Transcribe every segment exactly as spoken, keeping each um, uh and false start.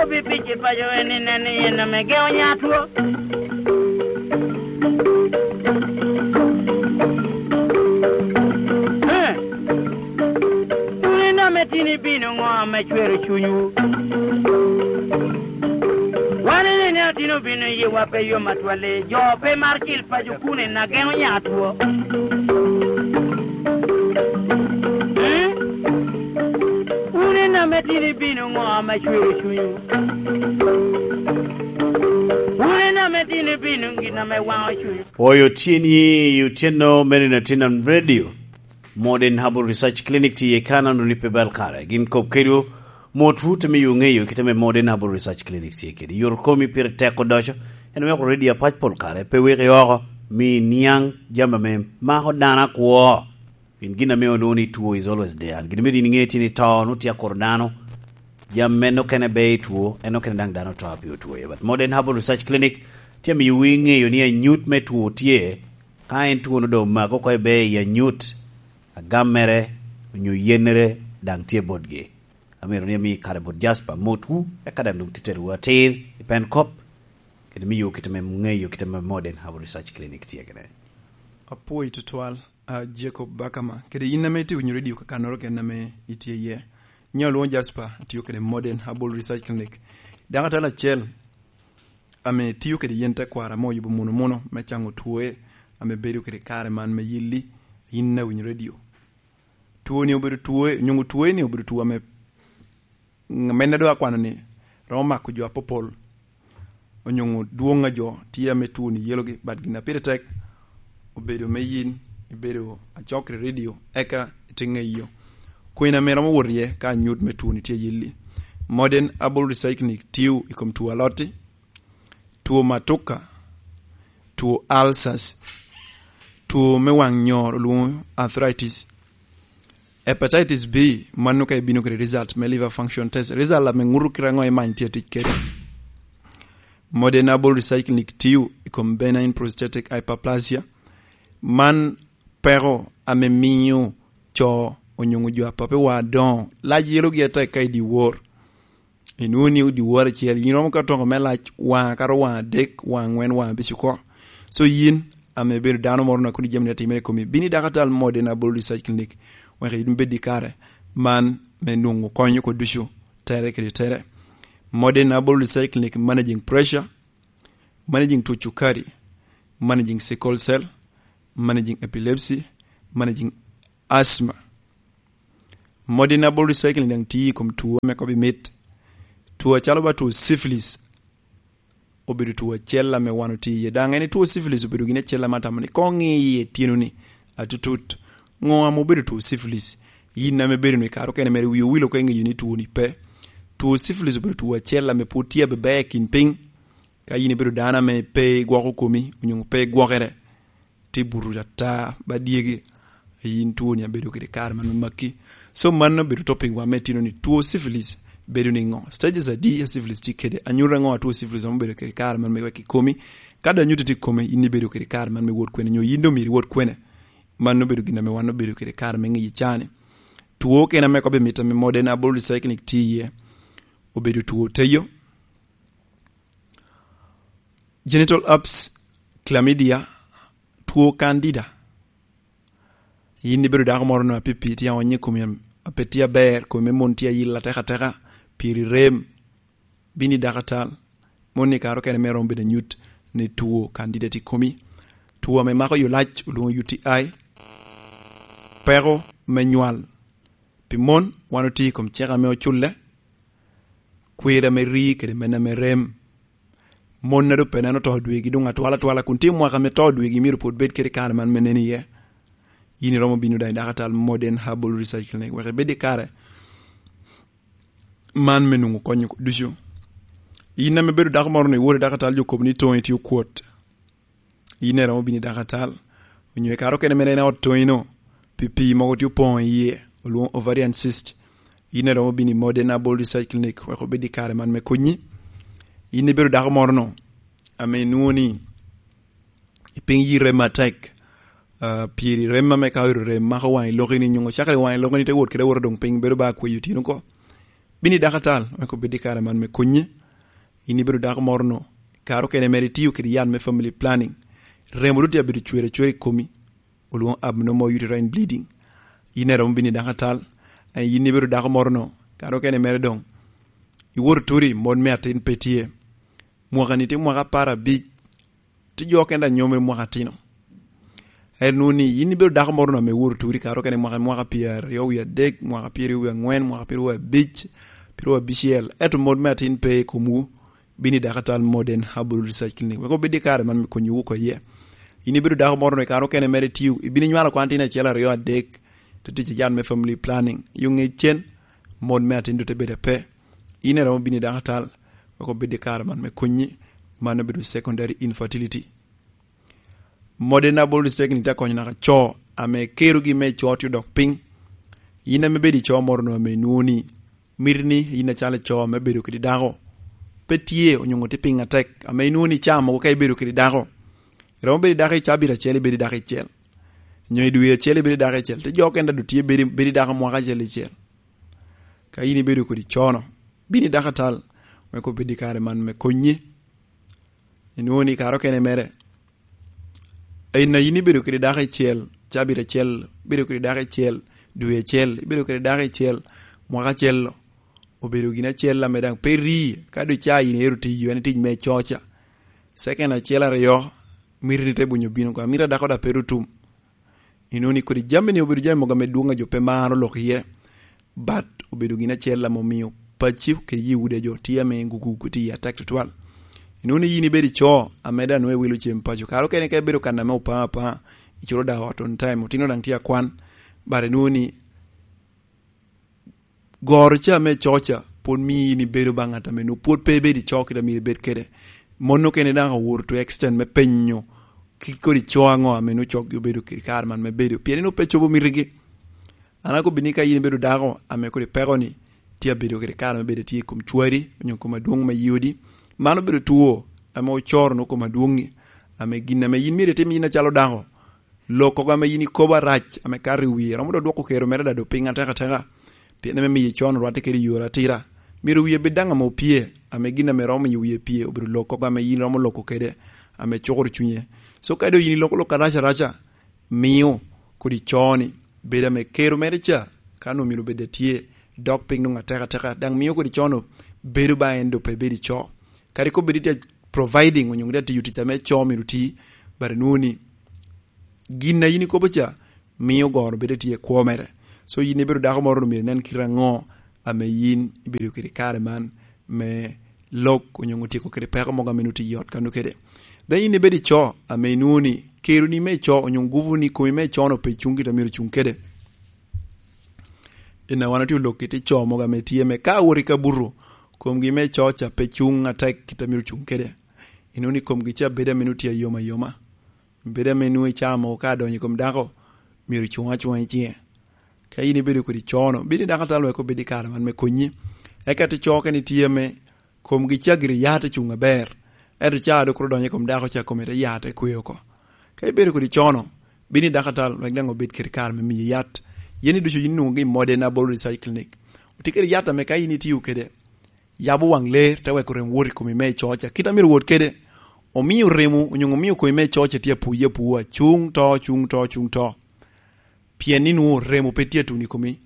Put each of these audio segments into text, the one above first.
Pi pic i paco en i nen i en ame geo nya two. Eh, wun en ame tin ibino ŋo ame cwero cunywu? Wan en ene otino bino yiwa pe yom atwali, jo pe mar cil paco kun en ageno nya two. Eh, wun en ame tin ibino ŋo ame cwero cunywu? Wun en ame tin ibino gin ame waŋo cunywu. Oyo tyen i otyeno mene na tin radio. Modern Herbal Research Clinic tye i Kanan, runi pe bal kare. Gin kop kedwu, mot wut ame yo ŋeyo kite me Modern Herbal Research Clinic tye kede. Yor komi pire tek odoco, en weko radio apac pol kare, pe weki oko, mi niaŋ jami ame mako dano akwo. Pien gin ame onwoŋo ni two is always there. Gin ame din ŋe tye ni to, nwoŋo tye akuro dano. Jami men okene be i two, en okene daŋ dano to a pi otwo. But Modern Herbal Research Clinic tye amiyo wi ŋeyo ni anyut me two tye. Ka en two no doŋ omako oko i be i anyut, agam mere, onyo yennere daŋ tye botgi. Amito ni ami kare bot Jasper, motwu, eka daŋ doŋ titterwu atir i pen kop, kede miyo kite me ŋeyo kite me Modern Herbal Research Clinic tye kene. Apwoyo tutwal, a, Jacob Bakama, kede in ame itye winyo radio kakannoro kene ame itye iye. Nyo lwoŋo Jasper, atiyo kede Modern Herbal Research Clinic. Daŋ atala acel ame tiyo kede yen tekwaro ame oyubo muno muno me caŋo twoe ame bedo kede kare man me yilli, in awinyo radio. Twoni obedo twoe, onyoŋo twoe ni obedo two ame, ame en doŋ akwano ni romo mako jo apopol. Onyoŋo dwoŋ a jo tye ame two ni yelogi, but gin a pire tek obedo me yin, ibedo acok i radio, eka ite ŋeyo kwena ame romo wot iye ka anyut me two ni tye yilli. Modern Herbal Recycling tiyo i kom two alotti, two matuka, two ulcers, two me waŋ nyor olwoŋo arthritis, hepatitis B, mano ka ibino kede result me liver function test. Result ame ŋuto kite aŋo imany tye tic kede. Modern Herbal Recycling tiyo i kom benign prostatic hyperplasia. Man peko ame miyo co onyoŋo jo a pape wa adoŋo lac yelogi atek ka i dyewor. Inwoŋo ni dyewor acel, yin romo ka toko me lac waŋa kato waŋa adek, waŋa aŋwen, waŋa abic oko. So yin ame ibedo dano moro na kodi jami ni atimere i komi, bini dakatal Modern Herbal Research Clinic, wek yin bed i kare man me nwoŋo kony oko ducu, tere kede tere. Modern Herbal Research Clinic managing pressure, managing two cukari, managing sickle cell, managing epilepsy, managing asthma. Modern Herbal Recycling daŋ tye i kom two ame kobbi mit. Two acalo ba two syphilis, obedo two acel ame wan otye iye. Daŋ en two syphilis obedo gin acel ame atamo ni koŋ ŋi iye tyenoni atutut. Ŋo ame obedo two syphilis? Yin ame bedo ni kare okene mere wi owil oko iŋeyo ni two ni pe. Two syphilis obedo two acel ame pwod tye abeber i kin piny. Ka yin ibedo dano ame pe igwoko komi, onyo pe igwokere, tye buto ata ba dyegi, yin two ni abedo kede kare man me makki. So mano bedo topic wa me tino ni two syphilis bedo ni ŋo? Stages adi a syphilis tye kede? Anyuto ŋo a two syphilis ame obedo kede kare man me wek i komi? Ka dong anyuto tye i komi, yin ibedo kede kare man me wot kwene, nyo yin dong myero iwot kwene? Mano obedo gin ame wan obedo kede kare me ŋiyo cani. Two kena me kobbi mit ame modern Herbal Recycling tye iye, obedo two teyo, genital herpes, chlamydia, two candida. Yin ibedo dako moro no apipi, tye aonyo i komi, ape tye aber, komi me mon tye ayil atek ateka, piri rem, bini dakatal. Mon ni karo kene me romo bedo anyut ni two candida tye i komi. Two ame mako yo lac olwoŋo U T I. Peko me nywal. Pi mon, wan otye i kom cik ame oculle, kwir ame ri kede men ame rem. Mon a doŋ pe neno to dwegi doŋ atwal atwala kun tye mwaka me to dwegi myero pwod bed kede kare man me nen iye. Yin iromo bino daŋ i dakatal Modern Herbal Research Clinic wek ibed i kare man me nwoŋo kony ducu. Yin ame bedo dako moro ni iwor i dakatal jo kop ni toŋi tye okwot. Yin iromo bino i dakatal. Onyo i kare okene mere en ot toŋino, pi pii mogo tye opoŋo iye, olwoŋo ovarian cyst. Yin iromo bino i Modern Herbal Research Clinic wek obed i kare man me konyi. Yin ibedo dako moro no, ame inwoŋo ni i piny yi rem atek, ah, piri rem ame ka oyuto rem mako waŋi lokini, nyoŋo cakere waŋi lokini te wot kede awota doŋ piny bedo ba kweyo tino oko. Bino i dako atal, wek obed i kare man me konyi. In ibedo dako moro no, kare okene mere itio kede yat me family planning. Remo doŋ tye abedo cwer acwer i komi, olwoŋo abnormal uterine bleeding. In iromo bino i dako atal. Eh, in ibedo dako moro no, kare okene mere doŋ iwoto turi, mon me atin pe tye. Mwaka ni tye mwaka apar abic, tye jo kende a nyomere mwaka atino. Ento nwoŋo ni in ibedo dako moro no ame iwoto turi, kare okene mwaka, mwaka pyeraryo wie adek, mwaka pyeraryo wie aŋwen, mwaka pyeraryo wie abic, pyeraryo wie abicel. Ento mon me atin pe i komwu, bino i dako atal Modern Herbal Research Clinic, wek obed i kare man me konyowu oko iye. In ibedo dako moro no, i kare okene mere itio, ibino inywalo kwan tin acel, aryo, adek, te tic i yat me family planning. Yo ŋe cen, mon me atin doŋ te bedo ape. In iromo bino i dako atal, wek obed i kare man me konyi, man obedo secondary infertility. Modern Herbal Research Clinic tye akonyo naka co ame kerogi me co tye odok piny. In ame bedo i co moro no ame inwoŋo ni miti ni in acalo co ame bedo kede dako pe tye, onyoŋo tye piny atek, ame inwoŋo ni caa mogo ka ibedo kede dako, iromo bedo i dako i cabit acel, ibedo i dako icel, nyo i dwe acel ibedo i dako icel, te jo kende a doŋ tye bedo, bedo i dako mwaka acel icel. Ka in ibedo kodi co no, bino i dako atal, wek obed i kare man me konyi. Inwoŋo ni kare okene mere, en a in ibedo kede dako icel, cabit acel, ibedo kede dako icel, dwe acel, ibedo kede dako icel, mwaka acel, obedo gin acel ame daŋ pe ri, ka doŋ ca in ero tiyo, en tic me coca. Second acel aryo, miti ni te bunyo bino oko, amito a dako daŋ pe ru tum. Inwoŋo ni kodi jami ni obedo jami mogo ame dwoŋ a jo pe maro lok iye, but obedo gin acel ame omio pacci kede Yuda jo tye ame gugugu tye iye atek tutwal. Inwoŋo ni in ibedo i co ame daŋ nwoŋo iwilo cem paco, kare okene ka ibedo kan ame opaŋ apaŋa, iculo daŋ ot on time, otino daŋ tye akwan, but inwoŋo ni goro ca me coca pwod mio in ibedo ba ŋat ame nwoŋo pwod pe ibedo i co kit a myero ibed kede. Mon okene daŋ owoto to extent me penyo kit kodi co aŋo ame nwoŋo coggi obedo kede kare man me bedo, pien nwoŋo pe cobo mitigi. An akobbi ni ka in ibedo dako ame kodi peko ni tye abedo kede kare me bedo tye i kom cwari onyo kom adwoŋ me yodi, man obedo two ame ocoro nwoŋo kom adwoŋi, ame gin ame in myero itim in acalo dako, lok kogo ame in ikobo arac ame kato i wie, romo dok dwoko kero mere daŋ dok piny atekateka, pien ame miyo con orwatte kede i yore atira. Myero wie bed daŋ ame opye, ame gin ame romo miyo wie pye obedo lok kogo ame in romo loko kede, ame cukoro cunye. So ka doŋ in iloko lok arac araca, mio kodi co ni bedo ame kero mere ca, ka nwoŋo myero bed atye, dok piny nwoŋo atekateka, daŋ mio kodi co no bedo ba en doŋ pe bedo i co. Kadi kombeddi tye providing onyo tye tiyo tic ame co myero ti, but nwoŋo ni gin a in ikobo ca mio goro bedo tye i kwo mere. So in ibedo dako moro, myero inen kite aŋo ame in ibedo kede i kare man me lok onyo tyeko kede peko mogo ame nwoŋo tye i ot kano kede. Daŋ in ibedo i co ame inwoŋo ni keroni me co onyo gupu ni komi me co no pe cuŋ kit a myero cuŋ kede. In a wan otye olok kit i co mogo ame tye me ka wot i kabuto, komgi me co ca pe cuŋ atek kit a myero cuŋ kede. Inwoŋo ni komgi ca bedo ame nwoŋo tye ayoma ayoma. Bedo ame nwoŋo i caa mogo ka adonyo i kom dako, myero cuŋ acuŋa i ciŋe. Ka in ibedo kodi co no, bino i dako atal wek obed i kare man me konyi. Eka te co okene tye ame komgi ca gire ya te cuŋ aber, ento ca dok kuro donyo i kom dako ca kome te ya te kwe oko. Ka ibedo kodi co no, bino i dako atal wek daŋ obed kede kare me miyi yat. Yen i ducu in nwoŋogi i Modern Herbal Research Clinic. Otye kede yat ame ka in itio kede, yabo waŋ ler, te weko rem wot i komi me i co ca kit a myero wot kede. Omio remo onyo omio komi me i co ca tye apuye apua, cuŋ to, cuŋ to, cuŋ to. Pien ni nwoŋo remo pe tye atuno i komi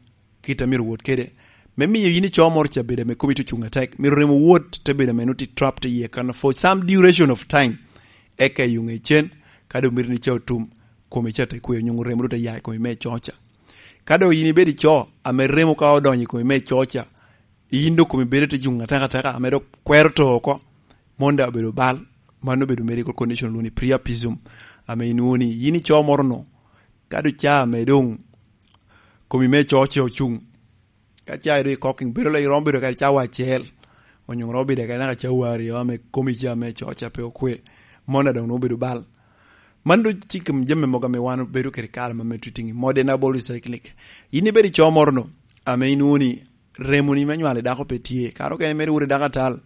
kit a myero wot kede. Me miyo in i co moro ca bedo ame komi tye ocuŋ atek, myero remo wot te bedo ame nwoŋo tye trapped iye kan for some duration of time. Eka i oŋe cen, ka doŋ mito ni ca otum, komi ca te kwe, onyo remo doŋ te ya i komi me i co ca. Ka doŋ in ibedo i co ame remo ka odonyo i komi me i co ca, in doŋ komi bedo te cuŋ atekateka, ame dok kwero to oko, mon daŋ obedo bal, man obedo medical condition olwoŋo ni priapism, ame inwoŋo ni in i co moro no, ka doŋ ca ame doŋ komi me co ce ocuŋ, ka ca doŋ i cocking, bedo lo iromo bedo kede cawa acel, onyo romo bedo kede naka cawa aryo, ame komi ca me co ca pe okwe, mon daŋ doŋ nwoŋo obedo bal. Man doŋ tye i kom jami mogo ame wan obedo kede kare ma me titting i Modern Herbal Research Clinic. In ibedo i co moro no, ame inwoŋo ni remoni me nywalo i dako pe tye. Kare okene mere iwot i dako atal,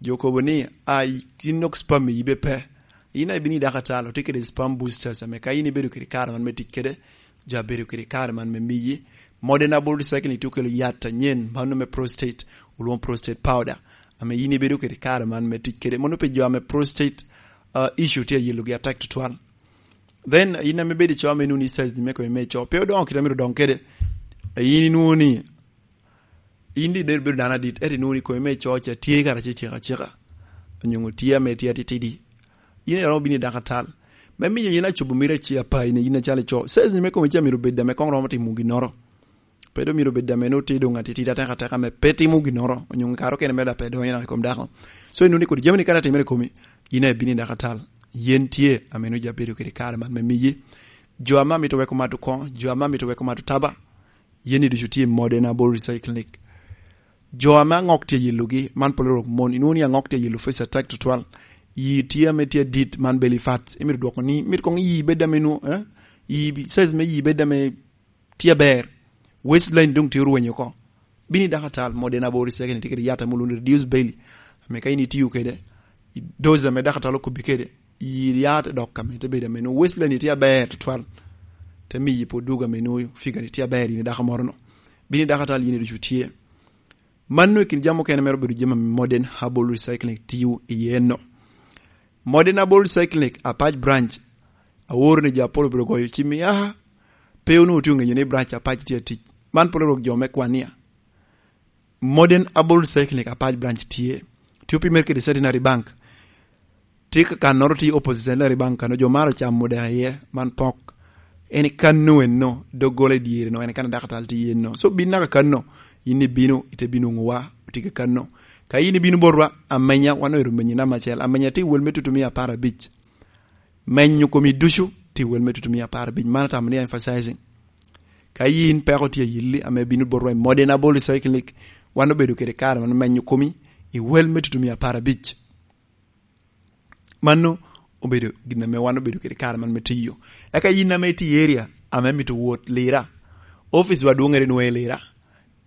jo kobo ni, "A, in nok sperm i yibe pe." In a ibino i dako atal, otye kede sperm boosters, ame ka in ibedo kede kare man me tic kede, jo abedo kede kare man me miyi, Modern Herbal Recycling tye okelo yat anyen, mano me prostate, olwoŋo prostate powder, ame yin ibedo kede kare man me tic kede. Mano pi jo ame prostate, uh, issue tye ayelogi atek tutwal. Then, yin ame bedo i co ame inwoŋo ni size ni me kome me co pe odongo kite myero odong kede. Yin inwoŋo ni, yin di ibedo, bedo dano adit, ento inwoŋo ni kome me co ca tye kara ce cek aceka. Onyoŋo tye ame tye atitidi. Yin iromo bino i dakatal. Me miyo yin acobo mito aci apayi ni yin acalo ico. Size ni me kome ca myero obed ame koŋ romo timo ginnoro. Pe doŋ myero bed ame nwoŋo tye doŋ atitidi atek ateka ame pe timo ginnoro. Onyoŋo kare okene mere pe donyo i kom dako. So, inwoŋo ni kodi jami ni kara timere i komi, yin aye bino i dakatal. Yen tye ame nwoŋo ja bedo kede kare man me miyi. Jo ame amito weko mato koŋo, jo ame amito weko mato taba, yen ni ducu tye i Modern Herbal Recycling. Jo ame aŋok tye yelogi, man pol orok mon, inwoŋo ni aŋok tye yelo face attack tutwal. Yi tye ame tye adit, man belly fats. Imito dwoko ni, myero koŋ yi bed ame nwoŋo, eh? Yi, size me yi bed ame tye aber. Waistline doŋ tye orwenyo oko. Bino i dakatal, Modern Herbal Recycling tye kede yat ame olwoŋo ni reduce belly. Ame ka in itio kede, i dose ame dakatal okobbi kede, yi yat dok ame te bedo ame nwoŋo waistline tye aber tutwal. Te miyi pwod dwogo ame nwoŋo figure ni tye aber, yin i dako moro no. Bino i dakatal, yin ducu tye. Mano i kin jami okene mere obedo jami ame Modern Herbal Recycling tio iye no. Modern Herbal Recycling Apac Branch, aoro ni jo apol obedo goyo cim ni, "Aha, pe onwoŋo otye oŋenyo ni branch Apac tye atic." Man pol orok jo me Kwania. Modern Herbal Recycling Apac Branch tye. Tye opimere kede Centenary Bank. Tye ka kannoro tye opposite Centenary Bank kano jo maro camo dek iye, man pok. En i kanno enno, doggola i dyere no, en i kan a dakatal tye iye no. So, bin naka kanno, yin ibino, ite bino nwoŋowa, otye ka kanno. Ka yin ibino botwa, amenya, wan oero menyi namba acel. Amenya tye i wel me tutumia apar abic. Menyo komi ducu tye i wel me tutumia apar abic. Man atamo ni emphasizing. Ka yin peko tye ayilli, ame bino botwa i Modern Herbal Recycling, wan obedo kede kare man menyo komi i wel me tutumia apar abic. Mano obedo gin ame wan obedo kede kare man me tiyo. Eka yin ame itye i area ame mito wot Lira, office wa dwoŋere nwoŋo i Lira.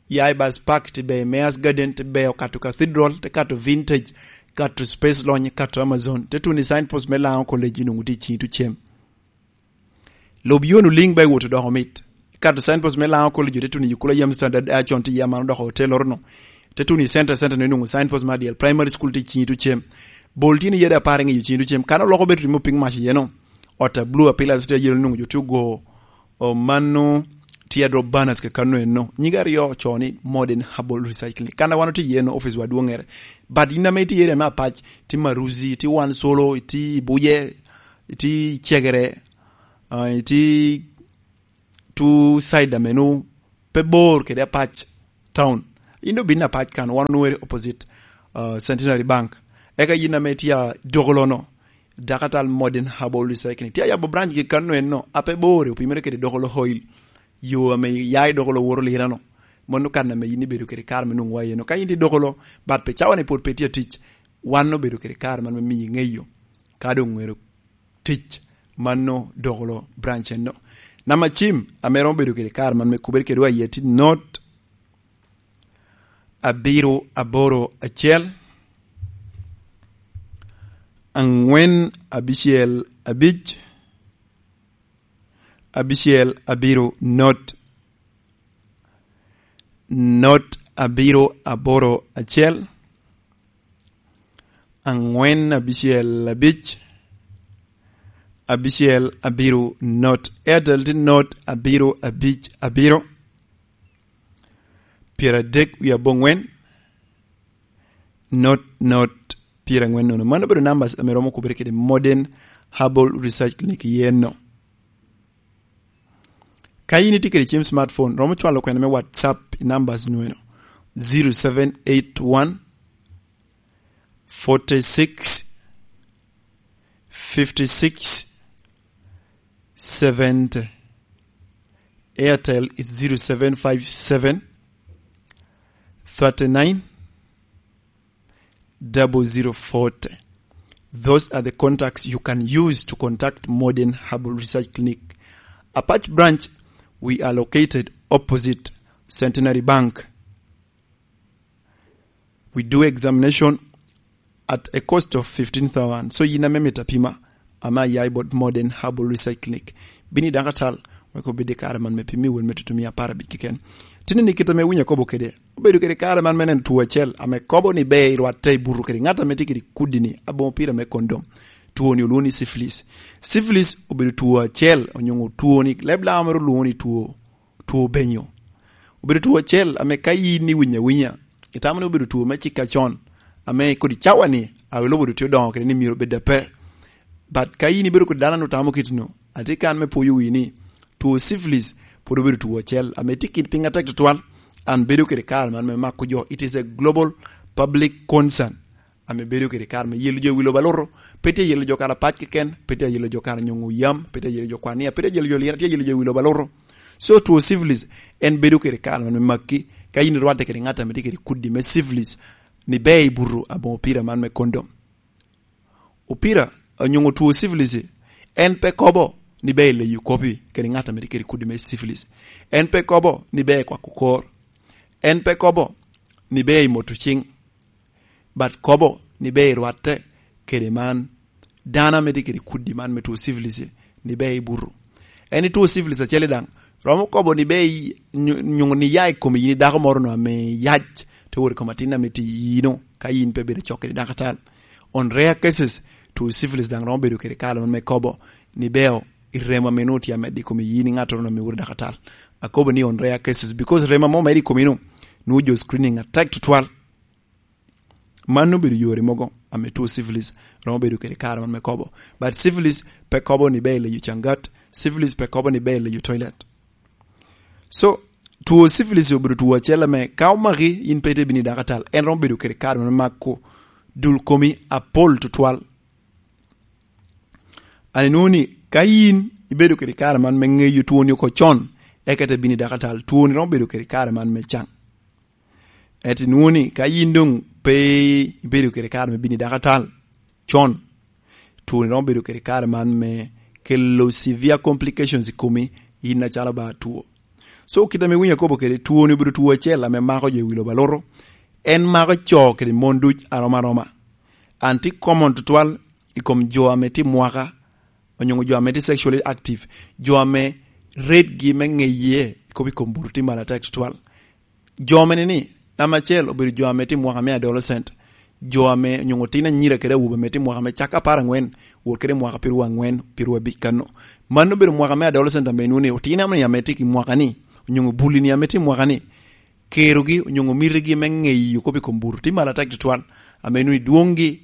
Ya i Bus Park, te beyo Mayor's Garden, te beyo kato Cathedral, te kato Vintage, kato Space Launch, kato Amazon, te tuno i signpost me Lango College, inwoŋo tye i ciŋi tucem. Lub yo-nu liŋ ba iwot odoko mit. Ikato signpost me Lango College, te tuno i Kula Yam Standard, a con tye iye man odoko hotel orono. Te tuno i center, center no inwoŋo signpost me Adyel Primary School tye i ciŋi tucem. Bol tye ni yede apar i ŋeyo ciŋi tucem. Kan oloko bedo timo piny mac iye no. Ot a blue a pillars tye ayelo inwoŋo jo tye ogo, o, mano tye a drop banners ke kanno enno. Nyige aryo ocoo ni Modern Herbal Recycling. Kan a wan otye iye no, office wa dwoŋere. But in ame itye i area me Apac, itye Maruzi, itye Wan Solo, itye i Buje, itye i Cegere, ah, itye two side ame nwoŋo pe bor kede Apac town. In dok bin Apac kan, wan onwoŋere opposite, ah, Centenary Bank. Eka yin ame itye a Dokolono, dakatal Modern Herbal Recycling. Tye ayabo branch gi kanno enno, a pe bor, opimere kede Dokolo Oil. Yo ame ya i Dokolo woto Lirano. Mano kan ame yin ibedo kede kare me nwoŋo wa eno. Ka in tye i Dokolo, but pe cawa-ni pwod pe tye atic, wan obedo kede kare man me miyi ŋeyo. Ka doŋ ŋero tic, mano Dokolo branch enno. Namba cim ame romo bedo kede kare man me kubere kedwa iye tye not abiro aboro acel, angwen abicel abic, abicel abiro not, not abiro aboro acel, angwen abicel abic, abicel abiro not. Airtel tye not abiro abic abiro, pyeradek wie aboŋwen, not, not, pyerangwen nono. Mano obedo numbers ame romo kubere kede Modern Herbal Research Clinic yen no. Ka in itye kede cim smartphone, romo cwalo kwena me WhatsApp i numbers nweno: zero seven eight one, forty six, fifty six, seventy. Airtel is zero seven five seven, thirty nine, double zero forty. Those are the contacts you can use to contact Modern Herbal Research Clinic. Apac branch, we are located opposite Centenary Bank. We do examination at a cost of fifteen thousand. So yin ame mito apima, ame aya i bot Modern Herbal Research Clinic. Bin i dakatal, Wek obed i kare man me pimi wun me tutumia apar abic keken. Tini ni kit ame winyo akobo kede, obedo kede kare man me neno two acel ame kobo ni ber i rwatte i buto kede ŋat ame tye kede kudi ni aboŋo pira me kondom. Two ni olwoŋo ni syphilis. Syphilis obedo two acel, onyoŋo two ni leb Laaŋo mere olwoŋo ni two, two benyo. Obedo two acel ame ka yin iwinyo awinya, itamo ni obedo two me cikka con, ame kodi cawa ni awilobo obedo tye odoŋo kede ni myero obed ape. But ka yin ibedo kodi dano ame otamo kit no, atye kan me pwoyo wi ni two syphilis pwod obedo two acel ame tye kit piny atek tutwal. An bedo kede kare man me mako jo. It is a global public concern ame bedo kede kare me yelo jo i wi lobo aluto. Pe tye yelo jo kara pac keken, pe tye yelo jo kara nyoŋo yam, pe tye yelo jo kwania, pe tye yelo jo lina, tye yelo jo i wi lobo aluto. So two syphilis en bedo kede kare man me makki ka yin irwatte kede ŋat ame tye kede kudi me syphilis ni ber i buto aboŋo pira man me kondom. Opira onyoŋo two syphilis, en pe kobo ni ber i leyo kopi kede ŋat ame tye kede kudi me syphilis. En pe kobo ni ber i kwako kor. En pe kobo ni ber i moto ciŋ. But kobo ni ber i rwatte kede man dano ame tye kede kudi man me two syphilis ni ber i buto. En i two syphilis acel daŋ romo kobo ni ber i nyo-, nyoŋo ni ya i kom yin i dako moro no ame yac, te wot i kom atin ame tye i yino ka yin pe bedo cok kede dako atal. On rare cases, two syphilis daŋ romo bedo kede kare man me kobo ni ber i remo ame nwoŋo tye amedde i kom yin i ŋattoro ame wot i dako atal. Akobo ni on rare cases because remo ame omedde i kom yin nwoŋo jo screening atek tutwal. Man obedo yore mogo ame two syphilis romo bedo kede kare man me kobo. But syphilis pe kobo ni ber i leyo cangat, syphilis pe kobo ni ber i leyo toilet. So two syphilis obedo two acel ame ka omaki yin pe ite bino i dako atal, en romo bedo kede kare man me mako dul komi apol tutwal. An inwoŋo ni ka yin ibedo kede kare man me ŋeyo twoni oko con, eka ite bino i dako atal, twoni romo bedo kede kare man me caŋ. Ento inwoŋo ni ka yin doŋ pe ibedo kede kare me bino i dako atal con, twoni romo bedo kede kare man me kelo severe complications i komi, yin acalo ba two. So kit ame winyo akobo kede, twoni obedo two acel ame mako jo i wi lobo aluto. En mako co kede mon duc arom aroma. An tye common tutwal i kom jo ame tye mwaka, onyoŋo jo ame tye sexually active, jo ame rate gi me ŋeye kop i kom buto tye malo atek tutwal. Jo mene ni, namba acel obedo jo ame tye mwaka me adolescent, jo ame onyoŋo tin anyira kede awobe ame tye mwaka me cak apar aŋwen wot kede mwaka pirwa aŋwen, pirwa abic kano. Man obedo mwaka me adolescent ame inwoŋo ni otino ame tye i mwaka ni, onyoŋo bulli ni ame tye i mwaka ni, kerogi onyoŋo mitigi me ŋeyo kop i kom buto tye malo atek tutwal, ame inwoŋo ni dwoŋgi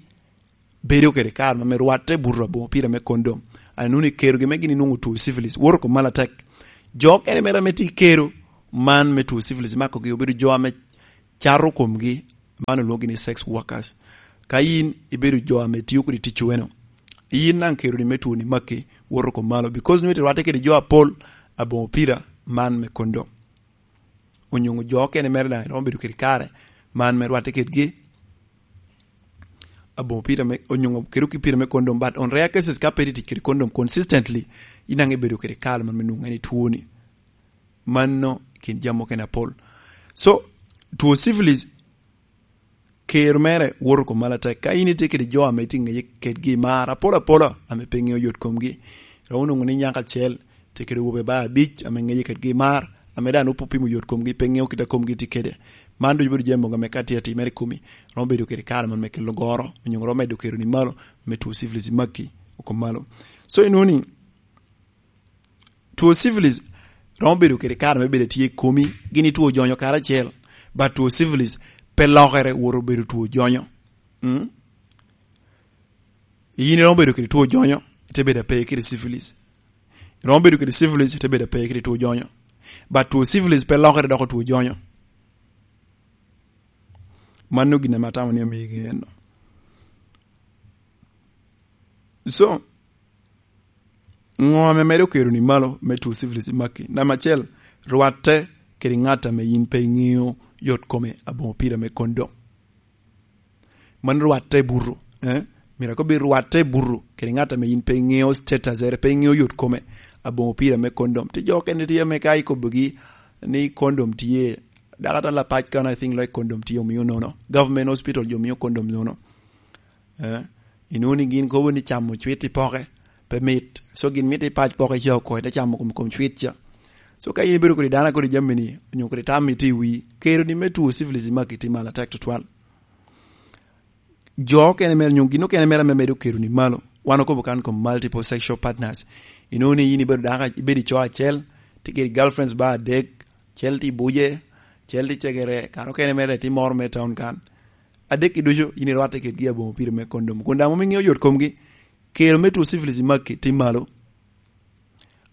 bedo kede kare ma me rwatte buto aboŋo pira me kondom. An inwoŋo ni kerogi me gin inwoŋo two syphilis woto kom malo atek. Jo okene mere ame tye i kero man me two syphilis makogi obedo jo ame cato komgi, man olwoŋogi ni sex workers. Ka yin ibedo jo ame tio kodi ticcu eno, yin daŋ keroni me twoni makki woto kom malo, because nwoŋo ite rwatte kede jo apol aboŋo pira man me kondom. Onyoŋo jo okene mere daŋ romo bedo kede kare man me rwatte kedgi aboŋo pira me, onyoŋo kede ki pira me kondom, but on rare cases ka pe iti tic kede kondom consistently, yin daŋ ibedo kede kare man me nwoŋo en i twoni. Mano kin jami okene apol. So two syphilis kero mere woto kom malo atek. Ka in itye kede jo ame itye ŋeye kedgi i mar apol apola ame pe ŋeo yot komgi, romo nwoŋo ni nyako acel tye kede wobe ba abic ame ŋeye kedgi i mar, ame daŋ nwoŋo pe opimo yot komgi, pe ŋeo kit a komgi tye kede. Man ducu bedo jami mogo ame ka tye atimere i komi, romo bedo kede kare man me kelo goro, onyo romo medo kero ni malo, me two syphilis i maki oko malo. So inwoŋo ni two syphilis romo bedo kede kare me bedo tye i komi, gin i two jonyo karacel, but two syphilis pe lokere woto bedo two jonyo. Mm? Yin iromo bedo kede two jonyo, ite bedo ape kede syphilis. Iromo bedo kede syphilis, ite bedo ape kede two jonyo. But two syphilis pe lokere doko two jonyo. Mano gin ame atamo ni amiyi ŋe eno. So, ŋo ame medo kero ni malo me two syphilis i maki? Namba acel, rwatte kede ŋat ame yin pe iŋeo yot kome aboŋo pira me kondom. Man rwatte buto, eh? Mira kobi rwatte buto kede ŋat ame yin pe iŋeo status ere, pe iŋeo yot kome aboŋo pira me kondom. Ti jo kene tye ame ka ikobogi ni kondom tye, daka ta lapac kan I think like kondom tye omio nono. Government hospital jo mio kondom nono. Eh, inwoŋo ni gin kobo ni camo cwit i poke, pe mit. So gin mito i pac poko ica oko, ite camo kom, kom cwit ca. So ka in ibedo kodi dano a kodi jami ni, onyo kodi tam itye i wii, kero ni me two syphilis i maki tye malo atek tutwal. Jo okene mere, onyo gin okene mere ame medo kero ni malo. Wan okobo kan kom multiple sexual partners. Inoni in ibedo dako, ibedo i co acel, tye kedi girlfriends ba adek, cel tye i Buje, cel tye i Cegere, kan okene mere tye moro me town kan. Adek i ducu, in irwatte kedgi aboŋo pire me kondom. Kun daŋ mom iŋeo yot komgi, kero me two syphilis i maki tye malo.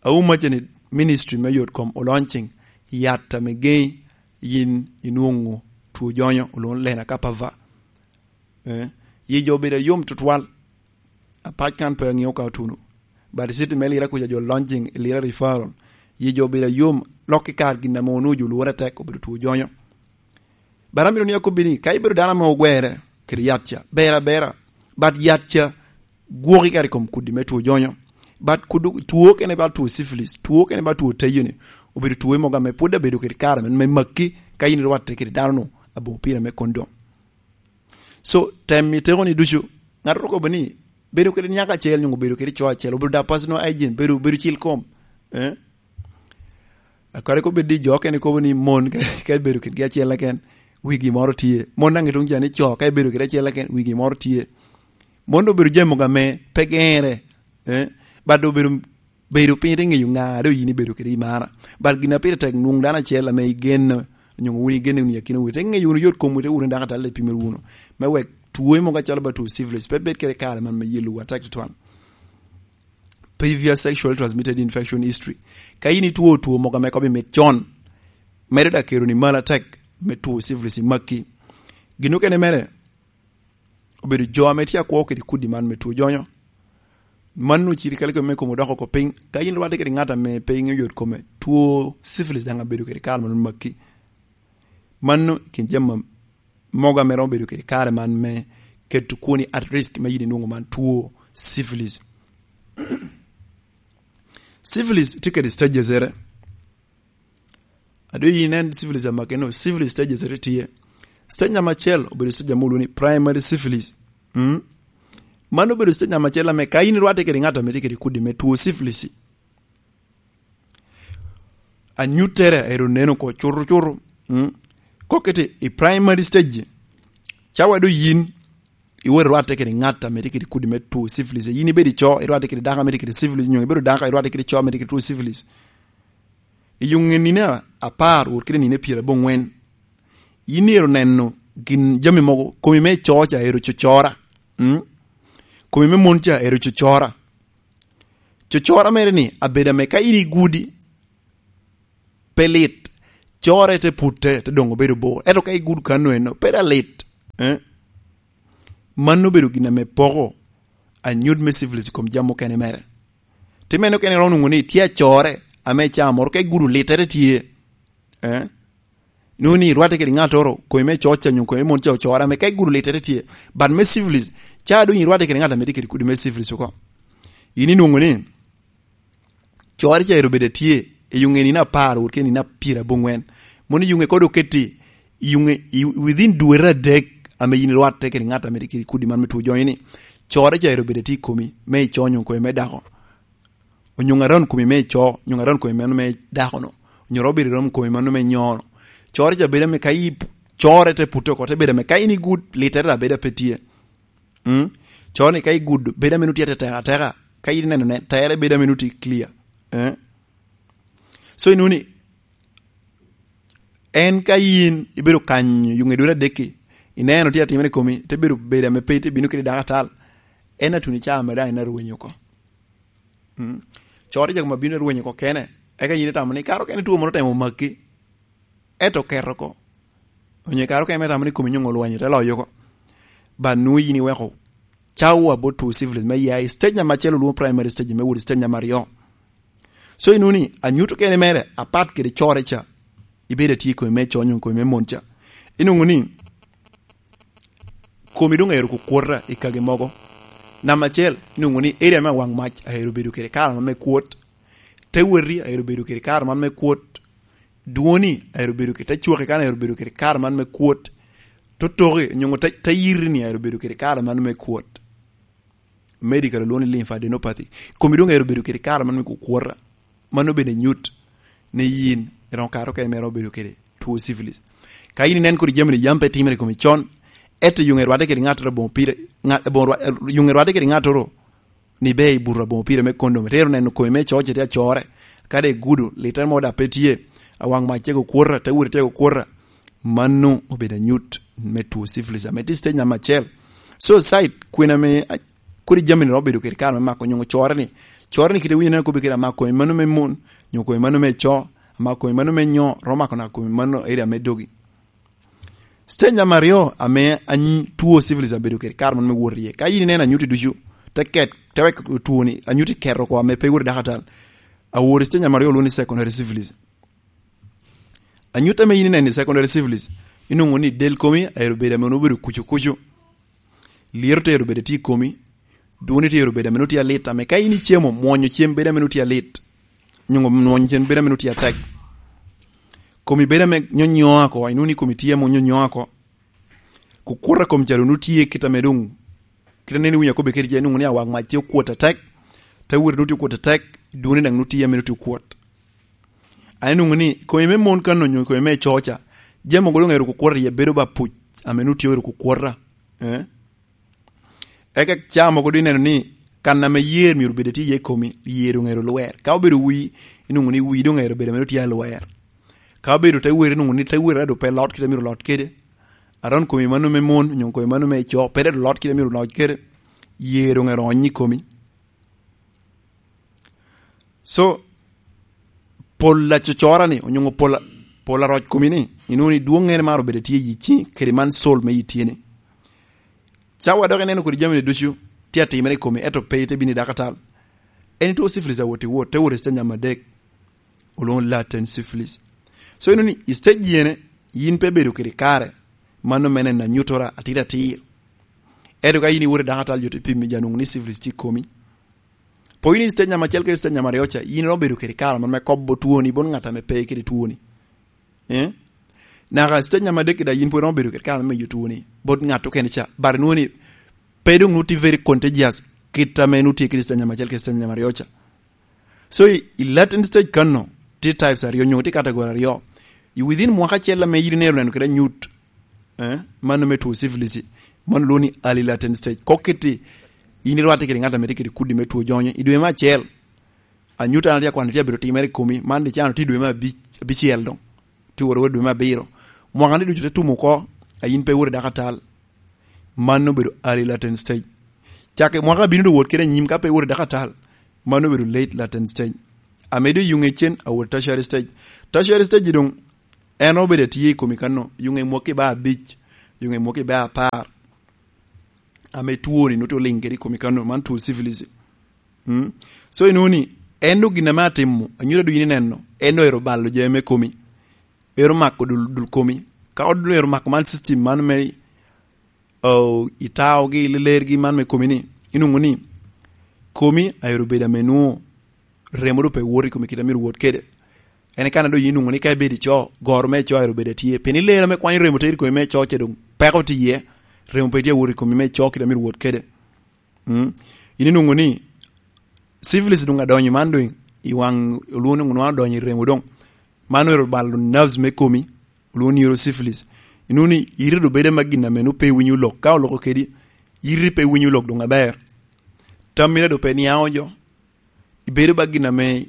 Auma ce ni ministry me yot kom o launching yat ame geŋi yin inwoŋo two jonyo, olwoŋo Lena Kapava. Eh, yi jo obedo ayom tutwal. Apac kan pe aŋeo ka otuno. But city me Lira kuca jo launching i Lira referral. Yi jo obedo ayom, lok i kar gin ame onwoŋo jo lwore tek obedo two jonyo. But amito ni akobbi ni, ka ibedo dano ame ogwere kede yat ca, ber abera. But yat ca gwoki kare i kom kudi me two jonyo. But kudu, two kene ba two syphilis, two kene ba two tayo ni, obedo two mogo ame pwod abedo kede kare me, me maki, ka in irwatte kede dano-nu aboŋo pire me kondom. So, tem i teko ni ducu, ŋat oro kobo ni, bedo kede nyako acel, onyo bedo kede co acel, obedo da personal hygiene, bedo, bedo cil kom. Eh? Akare ko bed ni jo okene kobo ni mon ka, ka ibedo kedgi acel keken, wigi moro tye. Mon daŋ i tuŋ ca ni co, ka ibedo kede acel keken, wigi moro tye. Mon obedo jami mogo ame pe gere, eh? But obedo, bedo piny te ŋeyo ŋa doŋ yin ibedo kede i mara. But gin a pire tek nwoŋo dano acel ame igeno, onyo wun igeno wunu i akina wunu, te ŋeyo wunu yot komwu, te wunu dako atal, te pimo wunu. Me wek two mogo acalo ba two syphilis, pe bed kede kare man me yelowu atek tutwal. Previous sexual transmitted infection history. Ka in itwo two mogo ame kobo mit con, medo da kero ni malo atek me two syphilis i maki. Gin okene mere, obedo jo ame tye akwo kede kudi man me two jonyo. Mano cirikale kome me kom odoko oko piny. Ka in irwatte kede ŋat ame pe iŋeo yot kome, two syphilis daŋ abedo kede kare man maki. Mano i kin jami mogo ame romo bedo kede kare man me keto kwoni at risk me yin inwoŋo man two syphilis. Syphilis tye kede stages ere. Ado yin inen syphilis amake no, syphilis stages ere tye. Stage namba acel obedo stage ame olwoŋo ni primary syphilis. Mm? Mano obedo stage namba acel ame ka in irwatte kede ŋat ame tye kede kudi me two syphilis, anyuttere ero neno oko cuto cuto. Mm? Kokete i primary stage, cawa do yin iwot irwatte kede ŋat ame tye kede kudi me two syphilis. Yin ibedo i co, irwatte kede dako ame tye kede syphilis, nyo ibedo dako, irwatte kede co ame tye kede two syphilis. I yuŋe nino apar wot kede nino pyeraboŋwen, yin ero neno gin jami mogo, komi me co ca ero cocora. Mm? Komi me mon ca ero cocora. Cocora mere ni, abedo ame ka in igudi, pe lit. Core te putte, te doŋ obedo bor. Ento ka igudo kano eno, pe da lit. Eh? Mano obedo gin ame poko anyut me syphilis i kom jami okene mere. Ti meno kene iromo nwoŋo ni tye acore ame i caa moro ka igudo littere tye. Eh? Nwoŋo ni irwatte kede ŋattoro, komi me coc ca nyo komi me mon ca ocore ame ka igudo littere tye. But me syphilis, ca doŋ irwatte kede ŋat ame tye kede kudi me syphilis oko. In inwoŋo ni, core ca ero bedo tye i yuŋe nino apar wot kede nino pyeraboŋwen. Mono i yuŋe kodo oketi i yuŋe i, within dwete adek ame yin irwatte kede ŋat ame tye kede kudi man me two jonyo ni, core ca ero bedo tye i komi, me ico nyo komi me dako. Onyo ŋaron komi me ico, onyo ŋaron komi meno me dako no. Onyo romo bedo rom komi meno me nyo no. Core ca bedo ame ka i core te putte oko, te bedo ame ka in igud, littere abeda pe tye. Mm? Coro ni ka igudo, bedo ame nutye ateka ateka. Ka in ineno ne, tere bedo ame nutye clear. Eh? So inuni, en ka yin ibedo kanyo yuŋe dwere adekki, ineno tye atimere komi, te bedo bedo ame pe itye bino kede dako atal. En atuni ca ame daŋ en arwenyo oko. Mm? Coro ca koma bino arwenyo oko kene. Eka yin itamo ni, karo kene two moro temo maki. Ento oketo oko. Onyo i kare okene me tamo ni komi nyoŋo olwanyo te loyo oko. But nwoŋo yin iweko cawa bot two syphilis me ya i stage namba acel olwoŋo primary stage me wot i stage namba aryo. So inwoŋo ni anyut okene mere apat kede core ca, ibedo atye i komi me co nyo komi me mon ca. Inwoŋo ni komi doŋ aero kukwota i kage mogo. Namba acel, inwoŋo ni area me awaŋ mac aero bedo kede kare man me kwot. Te weti aero bedo kede kare man me kwot. Dwoni aero bedo kede, te cwaki kan aero bedo kede kare man me kwot. Totoki, nyoŋo te, te yiri ni aero bedo kede kare man me kwot. medical olwongo ni lymphadenopathy. Komi doŋ ero bedo kede kare man me kukwota. Mano bene nyut ni yin iromo kare okene me romo bedo kede two syphilis. Ka yin inen kodi jami ni yam pe timere i komi con, eto yuŋe rwadde kede ŋattoro aboŋo pire, ŋa-, aboŋo rwa-, yuŋe rwadde kede ŋattoro ni be i buto aboŋo pire me kondom, itero neno komi me coc tye acore, kadi igudo, litere mo dok pe tye, awaŋ mac tyeko kwota, te wot tyeko kwota, mano obedo anyut me two syphilis, ame tye stage namba acel. So, site, kwena me, a-, kodi jami ni romo bedo kede kare me mako nyuŋo core ni, core ni kite winyo neno kobe kede amako komi mano me mon, nyuŋo komi mano me co, amako komi mano me nyo, romo mako na komi mano area me dogi. Stage namba aryo ame any-, two syphilis abedo kede kare man me wot iye. Ka yin ineno anyuti ducu, te ket, te wek two ni, anyuti keto oko ame pe wot i dakatal. Awor i stage namba aryo olwongo ni secondary syphilis. Anyut ame yin ineno i secondary syphilis, inwoŋo ni del komi aero bedo ame onwoŋo bedo kucu kucu. Lyero te ero bedo tye i komi, dwoni te ero bedo ame nwoŋo tye alit, ame ka in icemo, mwonyo cem bedo ame nwoŋo tye alit, nyuŋo mwonyo cem bedo ame nwoŋo tye atek. Komi bedo ame nyonyo ako, inwoŋo ni komi tye ame nyonyo ako. Kukwota kom ca doŋ nwoŋo tye kit ame doŋ, kit ame neno winyo akobbe kede je, inwoŋo ni awak mac tye okwot atek, te wot nwoŋo tye okwot atek, dwoni daŋ nwoŋo tye ame nwoŋo tye okwot. An inwoŋo ni komi me mon kan onyo komi me co ca, jami mogo doŋ ero kukwota iye bedo ba puc, ame nwoŋo tye ero kukwota. Eh? Eka ca mogo doŋ ineno ni kan ame yer myero obed tye iye i komi, yer doŋ ero lwer. Ka obedo wii, inwoŋo ni wii doŋ ero bedo ame tye alwer. Ka obedo te wer, inwoŋo ni te wer ado pe lot kite myero lot kede. Aron komi mano me mon, onyo komi mano me co, pe ado lot kite myero lot kede. Yer doŋ ero onyo i komi. So, pol acocora ni, onyo pol, pol aroc komi ni, inwoŋo ni dwoŋŋere mar obedo tye i yi ciŋ, kede man sol me yi tye ni. Cawa dok ineno kodi jami ni ducu tye atimere i komi, ento pe ite bino i dakatal. En itwo syphilis awot i wot, te wot i stage namba adek. Olwoŋo latent syphilis. So, inwoŋo ni i stage yene, yin pe bedo kede kare, mano mene na nyutora atir atir. Ento ka yin iwot i dakatal, jo te pimi ja nwoŋo ni syphilis tye i komi. Po yin i stage namba acel kede stage namba aryo ca, yin iromo bedo kede kare man me kobo twoni bot ŋat ame pe kede twoni. Eh? Naka stage namba adek kede yin pwod iromo bedo kede kare me miyo twoni bot ŋat okene ca. But inwoŋo ni pe doŋ nwoŋo tye very contagious kit ame nwoŋo tye kede stage namba acel kede stage namba aryo ca. So, i, i latent stage kano, tye types aryo, onyo tye category aryo. I within mwaka acel ame yin ineno neno kede anyut, eh, mano me two syphilis, mano lwongo ni early latent stage. Kok kiti, yin irwatte kede ŋat ame tye kede kudi me two jonyo. I dwe me acel, anyut an atye akwano tye abedo timere i komi, man dicano tye i dwe me abic-, abicel doŋ. Tye woro woro dwe me abiro. Mwaka ni ducu te tumo oko, a yin pe iwot i dakatal. Mano obedo early latent stage. Cak i mwaka abino doŋ wot kede anyim ka pe iwot i dakatal, mano obedo late latent stage. Ame doŋ yuŋe cen awot tertiary stage. Tertiary stage doŋ en obedo atye i komi kano, yuŋe mwaki ba abic, yuŋe mwaki ba apar. Ame twoni nwoŋo tye oliŋ kede i komi kano, man two syphilis. Mm. So, inwoŋo ni, en doŋ gin ame atimo, anyuto doŋ yin ineno, en doŋ ero balo jami me komi. Ero mako dul, dul komi. Ka odul ero mako man system man me, oh, itaogi, lelergi man me komi ni, inwoŋo ni, komi aero bedo ame nwoŋo remo doŋ pe wot i komi kit a myero wot kede. En kan a doŋ yin inwoŋo ni ka ibedo ico, goro me ico aero bedo atye. Pien i ler ame kwanyo remo tero i komi me ico ce doŋ peko tye iye, remo pe tye awot i komi me ico kit a myero wot kede. Mm. Yin inwoŋo ni syphilis doŋ adonyo man doŋ i waŋ olwoŋo ni nwoŋo adonyo i remo doŋ. Man ero balo nerves me komi, olwoŋo ni neurosyphilis. Inwoŋo ni iri doŋ bedo ma gin ame nwoŋo pe iwinyo lok. Ka oloko kedi, iri pe iwinyo lok doŋ aber. Tammi doŋ pe niaŋo jo. Ibedo ba gin ame,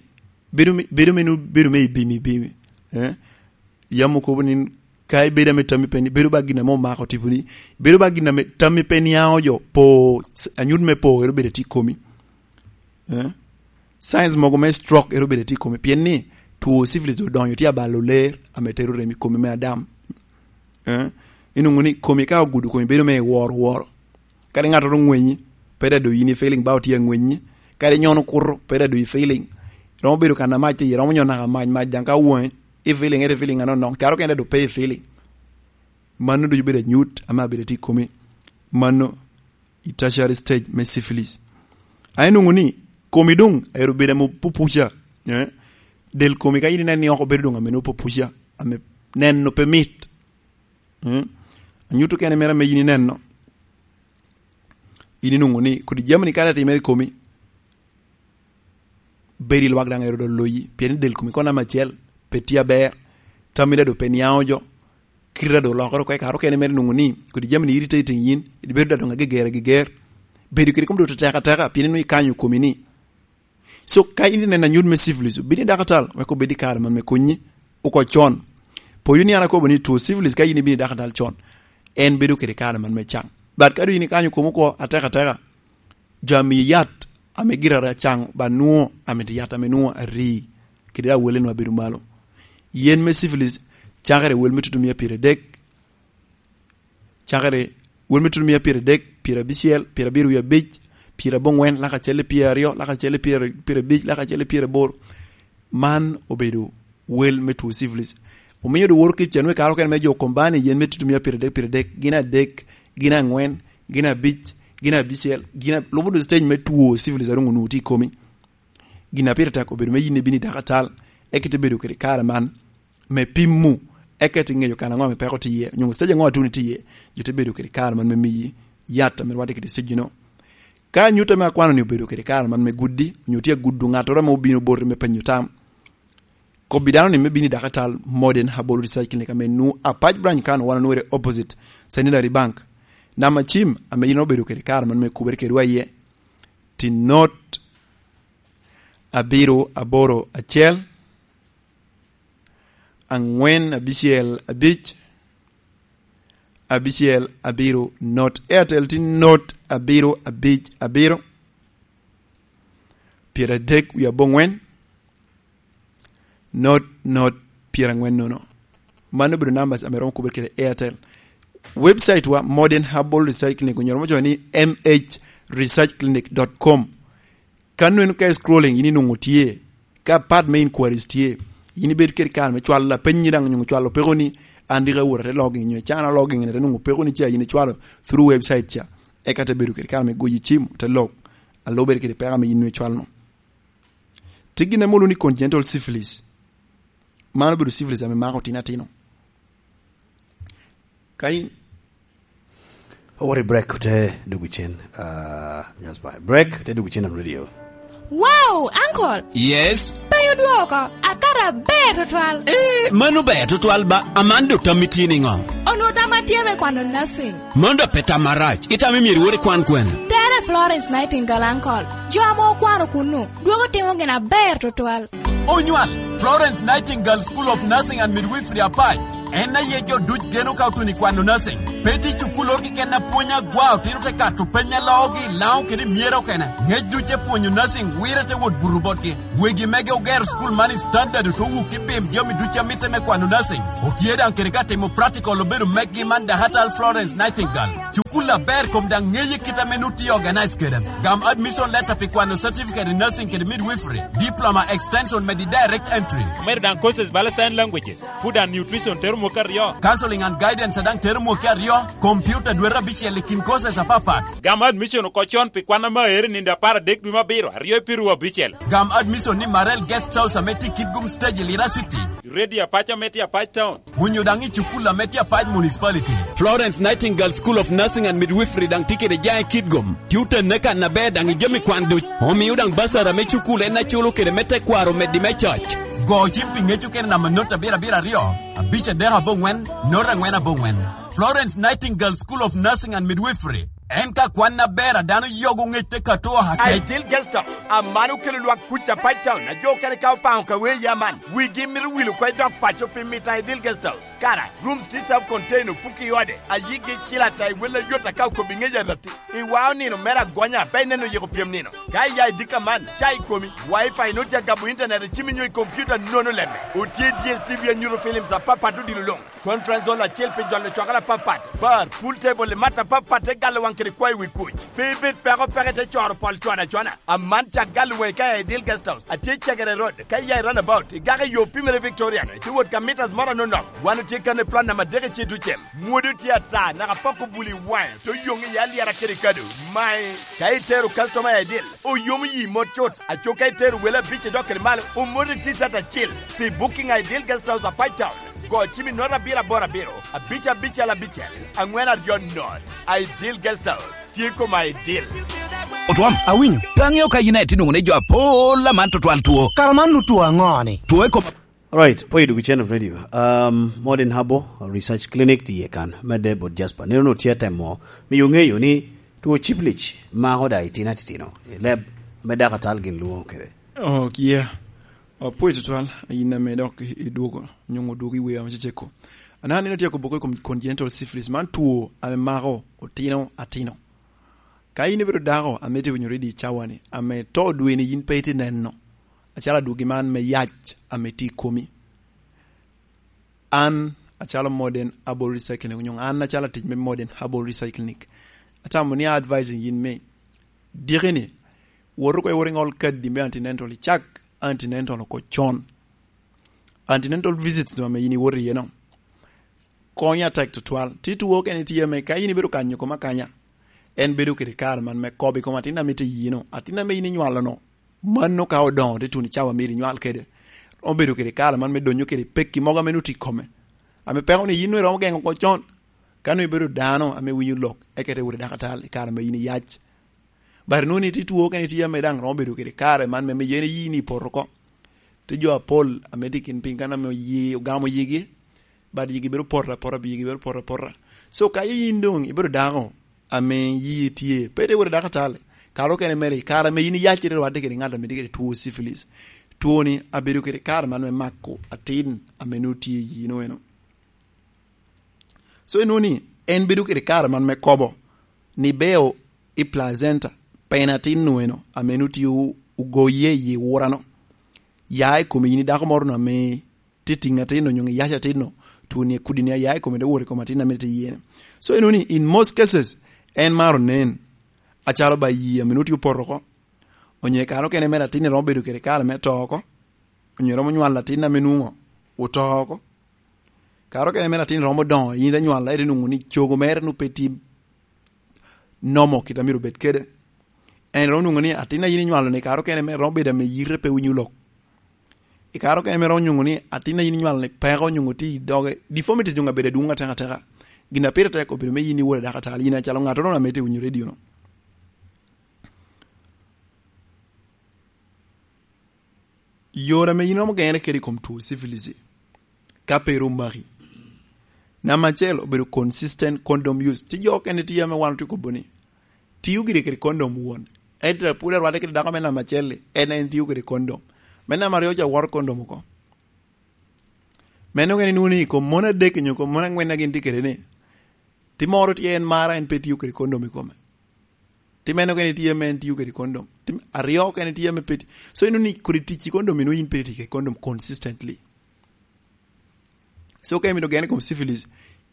bedo me, bedo me, bedo me ibimi, ibimi. Eh? Yam okobo ni ka ibedo ame tammi pe ni, bedo ba gin ame omako tiponi. Bedo ba gin ame tammi pe niaŋo jo, po, anyut me po, ero bedo tye i komi. Eh? Signs mogo me stroke ero bedo tye i komi. Pien ni two syphilis odonyo tye abalo ler ame tero remo i komi me adam. Eh? Inwoŋo ni komi ka ogudo komi bedo me woro woro. Kadi ŋattoro ŋwenyi, pe daŋ doŋ yin i feeling ba otye aŋwenyi. Kadi nyono kuto, pe daŋ doŋ i feeling. Romo bedo kan amac tye iye, romo nyono naka mac, mac daŋ ka woŋe, i feeling, ete feeling anonok, caro kene daŋ doŋ pe i feeling. Mano ducu bedo anyut ame abedo tye i komi. Mano i tertiary stage me syphilis. A inwoŋo ni komi doŋ ero bedo ame opupuca, eh? Del komi ka yin ineno ni oko bedo doŋ ame nwoŋo opupuca, ame neno pe mit. Mm. Anyuto kene mere ame yin ineno. In inwoŋo ni kodi jami-ni kara timere i komi, bedo i lwak daŋ ero doŋ loyi, pien i del komi kono namba acel pe tye aber, tammi daŋ doŋ pe niaŋo jo, kite daŋ doŋ olokere oko, i kare okene mere inwoŋo ni kodi jami-ni iri tye i teŋ yin, ibedo daŋ doŋ ageger ageger, bedo kede kom doŋ tetek ateka, pien inwoŋo ikanyo komi ni. So, ka in ineno anyut me syphilis, obin i dakatal, wek obed i kare man me konyi oko con. Poyo ni an akobo ni two syphilis, ka in ibin i dakatal con, en bedo kede kare man me caŋ. But ka doŋ in ikanyo komi oko atek ateka, jo amiyi yat ame gire ara caŋ ba nwoŋo, amito yat ame nwoŋo ari, kede awele nwoŋo abedo malo. Yen me syphilis cakere wel me tutumia pyeradek, cakere wel me tutumia pyeradek, pyerabicel, pyerabiro wie abic, pyeraboŋwen, laka acel i pyeraryo, laka acel i pyer-, pyerabic, laka acel i pyeraboro. Man obedo wel me two syphilis. Omio doŋ woro kec anwe kare okene me jo kombani yen me tutumia pyeradek, pyeradek, gin adek, gin aŋwen, gin abic, gin abicel, gin a-, lubo doŋ stage me two syphilis a doŋ onwoŋo tye i komi. Gin a pire tek obedo me yin ibino i dakatal, eka ite bedo kede kare man me pimo, eka ite ŋeyo kan aŋo ame peko tye iye, onyo stage aŋo atuni tye iye, jo te bedo kede kare man me miyi yat ame rwatte kede stage-no. Ka anyut ame akwano-ni obedo kede kare man me gudi, onyo tye agudo ŋattoro ame obino boti me penyo tam, kobbi dano-ni me bino i dakatal Modern Herbal Research Clinic ame nwoŋo Apac Branch kan wan onwere opposite Centenary Bank. Namba cim ame in obedo kede kare man me kubere kedwa iye, tin not abiro aboro acel, aŋwen abicel abic, abicel abiro not. Airtel tin not abiro abic abiro, pyeradek wie aboŋwen, not not pyeraŋwen nono. Mano obedo numbers ame romo kubere kede Airtel. Website wa, Modern Herbal Recycling, onyoro mo coyo ni M H research clinic dot com. Ka neno ka scrolling, in inwoŋo tye, ka part me inquiries tye, in ibed kede kare me cwalo lapennyi daŋ, onyo cwalo peko ni, "An dika awot ate logging, onyo can a logging, ate nwoŋo peko ni ca in icwalo through website ca." Eka te bedo kede kare me goyi cim, te log, alo bedo kede peko ame in icwalo no. Tye gin ame olwoŋo ni congenital syphilis. Mano obedo syphilis ame mako otino atino. Ka in Owot i break, te dwogo cen. Ah, just by break, te dwogo cen on radio. Wow, uncle! Yes? Pe odwoko, akato aber tutwal. Eh, mano ber tutwal ba, Amanda otammi tye niŋo? Onwoŋo tamma tye me kwano nursing. Mano dok pe tam marac, itamo myero iwot ikwan kwene? Tere Florence Nightingale, uncle. Jo ame okwano kunnu, dwogo timo gin aber tutwal. Onywal, Florence Nightingale School of Nursing and Midwifery Apac. En aye jo duc geno ka otuno i kwano nursing. Pe tye cukulloro keken a pwony agwa, otino te kato peny a loogi, Laŋo kede myero okene. Ngec duc te pwonyo nursing, wire te wot buto botgi. Wegi mege ogero school man i standard, ote wuki bim jami duc a mitte me kwano nursing. Otye daŋ kede ka timo practical obedo meggi man dakatal Florence Nightingale. Cukul aber kom daŋ ŋeye kit ame nu tye organize kede. Gam admission letter pi kwano certificate in nursing kede midwifery, diploma, extension, medi direct entry. Omedo daŋ courses bala sign languages, food and nutrition tero mwaka aryo. Counseling and guidance daŋ tero mwaka aryo, computer dwete abicel i kin courses apapat. Gam admission oko con pi kwan ame aero i nino apar adek dwe me abiro, aryo i piru abicel. Gam admission ni Marel Guest House ame tye i Kitgum Stage i Lira City. Radio Apac ame tye Apac Town. Onyo daŋ i cukul ame tye Apac Municipality. Florence Nightingale School of Nursing and Midwifery daŋ tye kede jaŋ i Kitgum. Tye otenne kan aber daŋ i jami kwan duc. Omio daŋ basara me cukul en aculo kede me tekwaro omeddi me cac. Go cim pi ŋec okene namba not abiro abiro aryo, abic adek aboŋwen, not aŋwen aboŋwen. Florence Nightingale School of Nursing and Midwifery. En ka kwan aber a dano yogo ŋec te kato oha kec. Ideal Guest House, aman okelo lwak kuc Apac Town, a jo okene ka opaŋo ka wee ya man. Wigi mito wil oko i dok paco pi mito Ideal Guest House. Kara, rooms tye self-contained, opuki i ode, a yigi cil ata i wel ayot aka okobi ŋec arati. I wao nino mere agonya, pe ineno yiko pyem nino. Ka iya i dika man, ca i komi, Wi-Fi nut ya gamo internet i cimi nyo i computer nono lemme. Otye D S T V anyuto films apapat odilo luŋ. Conference hall acel pi jolo cwakere apapat, bar, pool table i mat apapat te galo waŋ kede kwayo wi kuc. Pe ibed peko peke te coro pol cwana cwana. Aman cak galo waŋi ka i Ideal Guest House. Atye i Cagere Road, ka iya i roundabout, igako i yo pimere Victorian, itye wot ka meters moro anonok. Wan otye kan i plot namba adek i Cetucem. Mwodo tye ata, naka poko buli i waŋe, to yoŋ i alyera kede kado. Mae, ka itero customer i Ideal, oyomo yi mot cut. Aco ka itero wele abic i dok kede malo, omoti t-shirt acil. Pi booking i Ideal Guest House Apac Town, Kocimi noto abiro aboro abiro, abic abicel abicel, angwen aryo not. Ideal Guest House tye i kom Ideal. Otwam, awinyo. Pe aŋeo ka yin aye tye nwoŋo ni jo apol aman tutwal two. Kara man otwo aŋo-ni? Two i kom Alright, po i duk channel radio. Um, Modern Herbal Research Clinic tye kan, medde bot Jasper. Neno no tye temo miyo ŋeyo ni two syphilis mako da itino atitino. Leb me dakatal gin lwongo kede. Oh, kia. Apwoyo tutwal, yin ame dok i- idwogo, nyuŋ odwogo i wer ame ceceko. An aneno tye kobo ko i kom congenital syphilis, man two ame mako otino atino. Ka yin ibedo dako ame tye winyo ready i cawa-ni, ame to dwe-ni yin pe itye neno, acalo adwogi man me yac ame tye i komi. An acalo Modern Herbal Research Clinic, onyo an acalo atic me Modern Herbal Research Clinic, atamo ni advising yin me diki-ni, wot oko iwot iŋol kadi me antenatal, icak antenatal oko con. Antenatal visits no ame yin iwoto iye no, konyo atek tutwal. Ti two kene tye ame ka yin ibedo kanyo koma kanya, en bedo kede kare man me kobo i kom atin ame tye yino, atin ame yin inywalo no. Mano ka odoŋo te tuno i cawa myero inywal kede, romo bedo kede kare man me donyo kede pekki mogo ame nut i kome, ame peko ni yin nwe romo geŋo oko con. Ka nwe ibedo dano ame winyo lok, eka te wot i dakatal i kare ame yin iyac. But nuni ti two kene tye ame daŋ romo bedo kede kare man me, me yen yin ipoto oko. Ti jo apol ame tye kin piny kan ame oye, ogamo yigi, but yigi bedo poto apota, yigi bedo poto apota. So ka yin doŋ ibedo dako ame yii tye, pe te wot i dakatal, kare okene mere, kare ame yin iyac kede rwadde kede ŋat ame tye kede two syphilis. Two-ni abedo kede kare man me mako atin ame nut tye i yino eno. So inwoŋo ni en bedo kede kare man me kobo ni beo i placenta, pien atin-nu eno ame nut tye o- ogoye i wurano, ya i komi yin i dako moro-nu ame tye tiŋ atin-nu, onyo iyac atin-nu, two-ni, kudi-ni aya i kome te wot i kom atin ame tye iye-ni. So inwoŋo ni in most cases, en maro nen acalo ba yii ame nut tye opoto oko, onyo i kare okene mere atin-ni romo bedo kede kare me to oko, onyo romo nywalo atin ame nwoŋo oto oko. Kare okene mere atin romo doŋo, yin ite nywalo, ite nwoŋo ni cogo mere nwoŋo pe tye nomo kit a myero obed kede. En romo nwoŋo ni atin a yin inywalo-ni kare okene mere romo bedo ame yite pe winyo lok. I kare okene mere romo nwoŋo ni atin a yin inywalo-ni peko nwoŋo tye i doge. Deformities doŋ abedo adwoŋ atek ateka. Gin a pire tek obedo me yin iwot i dakatal, yin acalo ŋattoro ame tye winyo radio-no. Yore ame yin iromo geŋere kede i kom two syphilis, ka pe ru omaki. Namba acel, obedo consistent condom use. Tye jo okene tye ame wan otye kobo ni, tiyo gire kede condom won. Ento pwod arwadde kede dako me namba acel-li, en en tiyo kede condom. Me namba aryo ca woro condom oko. Meno okene inwoŋo ni i kom mon adek nyo i kom mon angwen a gin tye kede ni, ti moro tye en mara en pe tiyo kede condom i kome. Ti meno okene tye ame en tiyo kede condom. Ti aryo okene tye ame pe ti-, so inwoŋo ni kodi tic i condom inwoŋo yin pe tic kede condom consistently. So ka imito gene i kom syphilis,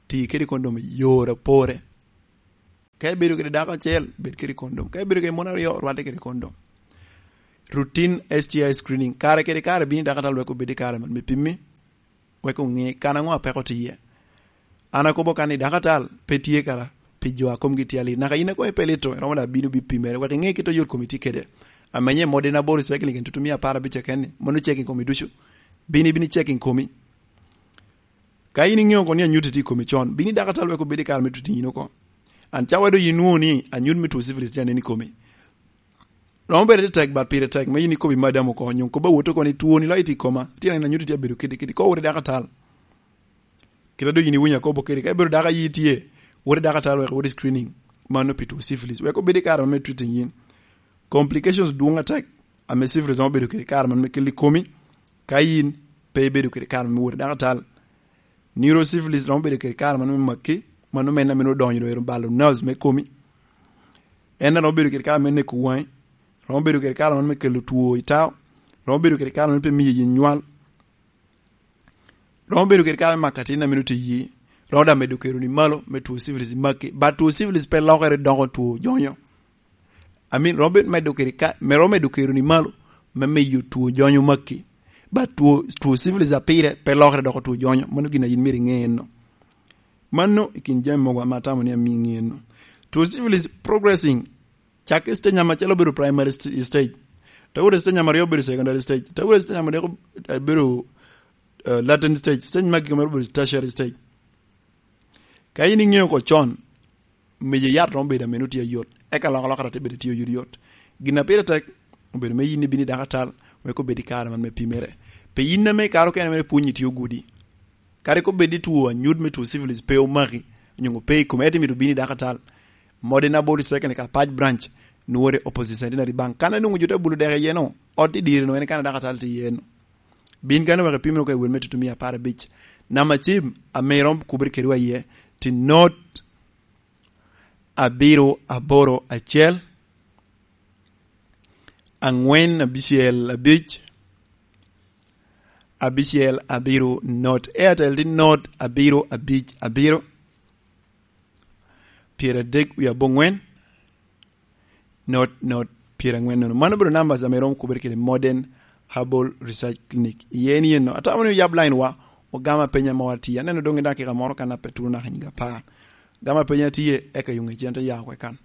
ti kede condom i yore apore. Ka ibedo kede dako acel, bed kede condom. Ka ibedo kede mon aryo, rwatte kede condom. Routine S T I screening. Kare kede kare bino i dakatal wek obed i kare man me pimmi, wek oŋe kan aŋo a peko tye iye. An akobo kan ni dakatal pe tye kara pi jo a komgi tye alit. Naka in a komi pe lito, iromo da bino bi pimere, wek iŋe kit oyot komi tye kede. Amenye modi na boro cycling, tutu mia apar abic keken ni, mono checking komi ducu. Bino, ibino checking komi. Ka in iŋeo kono ni anyutti tye i komi con, bino i dakatal wek obed i kare me tuti in oko. An cawa doŋ inwoŋo ni anyut me two syphilis tye anen i komi. Romo bedo ni tek, but pire tek me in ikobo i madam oko, onyo kobo awot oko ni twoni loyo tye i koma, tye neno anyutti tye abedo kidi kidi, ko wot i dakatal. Kit a doŋ in iwinyo akobo kede, ka ibedo dako ayi tye, wot i dakatal wek wot i screening, mano pi two syphilis. Wek obed i kare me treating in. Complications dwoŋ atek, ame syphilis romo bedo kede kare man me keli komi, ka in pe ibedo kede kare me wot i dakatal. Neurosyphilis romo bedo kede kare man me maki, mano mene ame odonyo doŋ ero balo nerves me komi. En romo bedo kede kare me neko waŋi, romo bedo kede kare man me kelo two i tao, romo bedo kede kare man pe miyo yin nywal. Romo bedo kede kare me mako atin a mito tye iyi, romo daŋ medo kero ni malo me two syphilis i maki. But two syphilis pe lokere doko two jonyo. I mean, romo medo kede ka, me romo medo kero ni malo me miyo two jonyo maki. But two, two syphilis a pire pe lokere doko two jonyo. Mano gin a yin myero iŋe enno. Mano i kin jami mogo ame atamo ni amii iŋe enno. Two syphilis progressing, cak i stage namba acel obedo primary st-, stage. Te wot i stage namba aryo obedo secondary stage. Te wot i stage namba adek obedo uh, latent stage, stage magi mere obedo tertiary stage. Ka in iŋeo oko con, mejo yat romo bedo ameno tye ayot, eka loko alokara te bedo tye oyot yot. Gin a pire tek obedo me yin ibino i dakatal, wek obed i kare man me pimere. Pe yin ame i kare okene mere pwonyi tye ogudi. Kadi kobed ni two anyut me two syphilis pe omaki, onyo pe i kome, ento imito bino i dakatal. Modern Aboli Second ka Paj Branch, nwore opposite Centenary Bank. Kan anwoŋo jo te bulo dek iye no, ot i dire no en kan dakatal tye iye no. Bin kan wek ipim no ka i wel me tutumia apar abic. Nama cim ame iromo kubere kede wa iye, ti not abiro aboro acel, angwen abicel abic, abicel abiro not. Airtel ti not abiro abic abiro, pyeradek wie abongwen, not, not, pyerangwen nono. Mano obedo numbers ame iromo kubere kede Modern Herbal Research Clinic. Iye ni eno, atamo ni oyab line wa, ogama penya ma watye. Aneno dong i dakika moro kan ape tuno naka nyiga apar. Gama penya tye, eka yung ecen te ya oko ekan.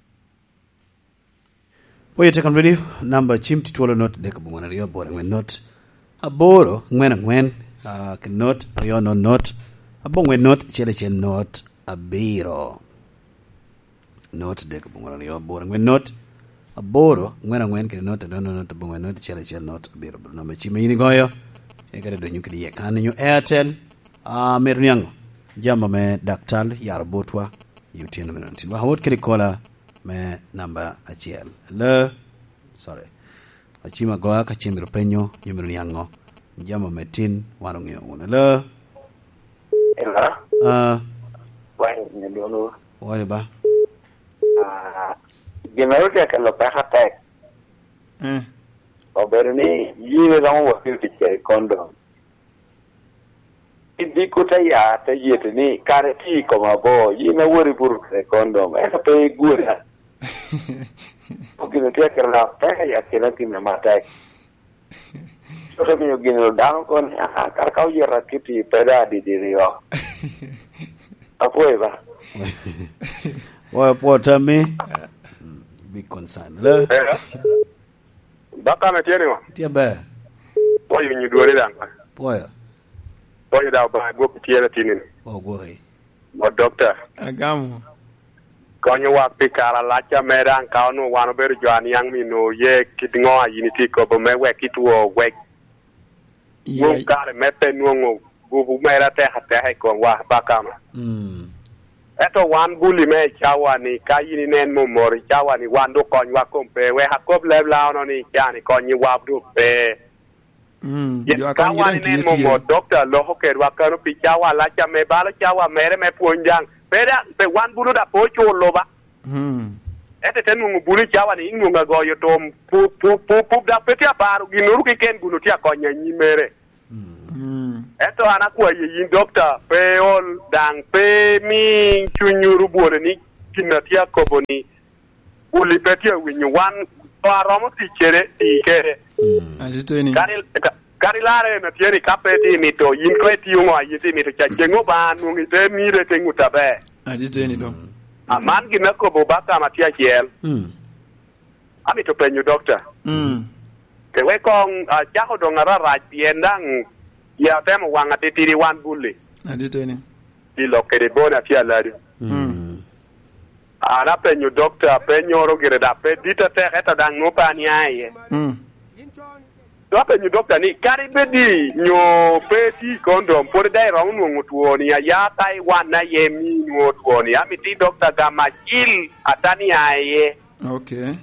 Oye Tekan Radio, namba cim ti twolo not dek abongwen aryo aboro angwen not aboro angwen angwen, ah, ki not aryo not not abongwen not acel acel not abiro. Not dek abongwen aryo aboro angwen not aboro angwen angwen kede not aryo not abongwen not acel acel not abiro. Bro namba cim yin igoyo, eka te donyo kede iye kan inyo Airtel, ah, mito niaŋo jama me daktal yaro botwa i otyeno me nontin. Waka wot kede kola me namba acel. Hello? Sorry. Acim agoya ka cim mito penyo, nyo mito niaŋo. Jama me tin, wan oŋeo wunu. Hello? Hello? Ah. Wai, nyo dwono? Wai ba? Ah, gin ma rutya kelo peka tek. Eh. Obedo ni yie romo wapio tic kede kondom. Idiko te ya, te yete ni, kare tye i koma bo, yin awori buru kede kondom, ento pe igwera. Gin otye kede lok pek i akina gin matek. Cote miyo gin dano kono ni, "Ah, kara ka oyeta kiti pe da didi ryo." Apwoyo ba. Oyo pwo tammi. Big concern. Le? Eh. Baka me tye ni wa? Tye ber. Pwoyo nyi dwori daŋ. Pwoyo. Pwoyo da ba gwok tye na tini. O gwoki. Mo dokta. Agamo. Konyo wa pi kara laca me daŋ ka onwo wan obedo jo aniaŋ mi no ye kit ŋo a yin itye kobo me wek itwo wek. Ye- Wun kare me pe nwoŋo gupu mere atek ateka i kom wa bakama. Mm. Ento wan buli me i cawa ni ka yin inen momoro i cawa ni wan do konywa kom pe wek akob leb laono ni cani konyi wab do pe. Mm. Yen jo ka akony wan inen tye, tye. Momoro dokta loko kedwa kano pi cawa laca me balo cawa mere me pwony daŋ. Pe daŋ, pe wan bulu da pe oculo ba. Mm. Ento te nwoŋo bulu i cawa ni inwoŋo agoyo tom, pu-, pu-, pu-, pu-, dok pe tye aparo ginnoro keken guno tye akonyo anyim mere. Mm. Ento an akwaye yin dokta, pe ol daŋ, pe mi cunywu rubwone ni gin a tye akobo ni, uli pe tye awinyo, wan to aromo tic kede, tic kede. Mm. Atiteni. Kadi, ka-, kadi larre en atye ni ka pe tye mito, yin ko itio ŋo a yin tye mito ca, ceŋ Obaŋa nwoŋo ite mire te ŋut aber. Atiteni do. Mm. A man gin akobo ba kama tye acel. Mm. Amito penyo dokta. Mm. Ke wek koŋ acako doŋ ararac pien daŋ ya atemo waŋ atitidi wan buli. Aditeni. Pi lok kede bon atye aladi. Mm. An apenyo dokta, apenyoro gire da pe dit atek, ento daŋ nwoŋo pe ania iye. Mm. So apenyo dokta ni, kadi bed ni nyo pe iti kondom, pwod daŋ iromo nwoŋo twoni, aya ka iwanna iye mi nwoŋo twoni, amito i dokta gam acil atania iye. Okay.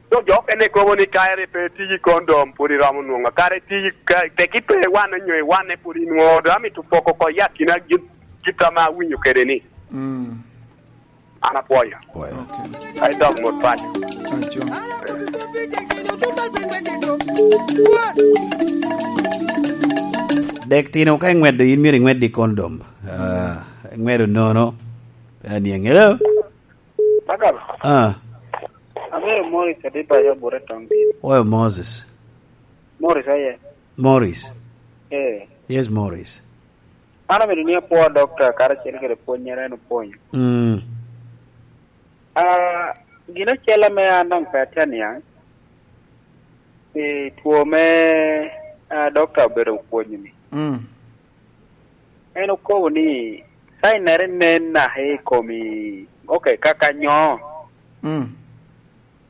So jo okene kobo ni ka ere pe iti kondom, pwod iromo nwoŋo, kare iti ka, tek ipe wanne nyo iwanne pwod inwoŋo, do amito poko oko i akina git, git ame awinyo kede ni. Mm. An apwoyo. Pwoyo. Okay. Ai dog mot paco. Paco. Dek tino ka ingweddo, in myero ingwed i kondom. Ah, ingweddo nono. Pe aniaŋ. Hello? Bakal. Ah. Abedo Morris Adiba, ya bure tong di. Oyo Moses. Morris, aye. Morris. Eh. Yes, Morris. An amito ni apwo dokta karacel kede pwonnyere en opwonyo. Mm. Ah, gin acel ame an daŋ pe atye aniaŋ, pi two me, ah, dokta obedo opwonyo-ni. Mm. En okobo ni, "Sainere nen naka i komi, oke, kaka nyo." Mm.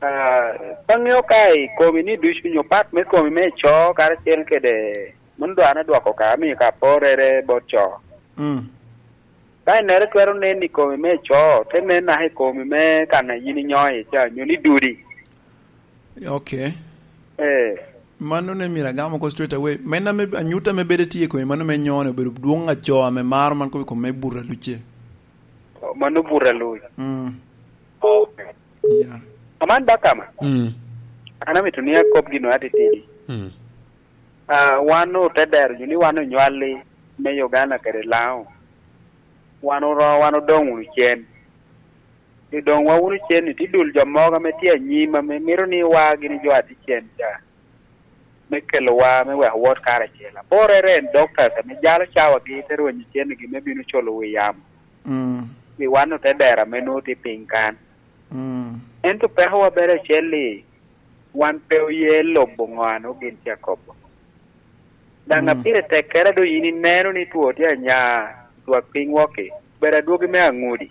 Ah, pe aŋeo ka i komi ni ducu nyo pat me komi me co karacel kede mano dwar adwoko ka amio ka porrere bot co. Mm. Sainere twero nen i komi me co, te nen naka i komi me kan a yin inyo iye ca, nyo ni dudi. Okay. Eh. Mano ne myero agam oko straight away. Men ame anyut ame bedo tye i kome, mano me nyono obedo dwoŋ aco ame maro man kop i kom me buto aluc-ce. Oh, mano buto aluc. Mm. Okay. Yeah. Aman ba kama. Mm. An amito ni akop gino atitidi. Mm. Ah, wan ote dero jo ni wan onywalli me Uganda kede Laŋo. Wan oro-, wan odoŋ wunu cen. I doŋ wa wunu cen-ni, tye dul jo mogo ame tye anyim ame mito ni wa gin jo a tye cen ca, me kelowa, me weko wot karacel. Aporrere en doctors ame jalo cawagi te rwenyo cennigi me bino culo wi yamo. Mm. Pi wan ote dero ame nwoŋo tye piny kan. Mm. Ento pekowa bene acel-li, wan pe oye lubo ŋo a nwoŋo gin tye akobo. Daŋ Mm. a pire tekkere doŋ yin ineno ni two tye anya, twak piny wok-ki, bedo adwogi me aŋudi.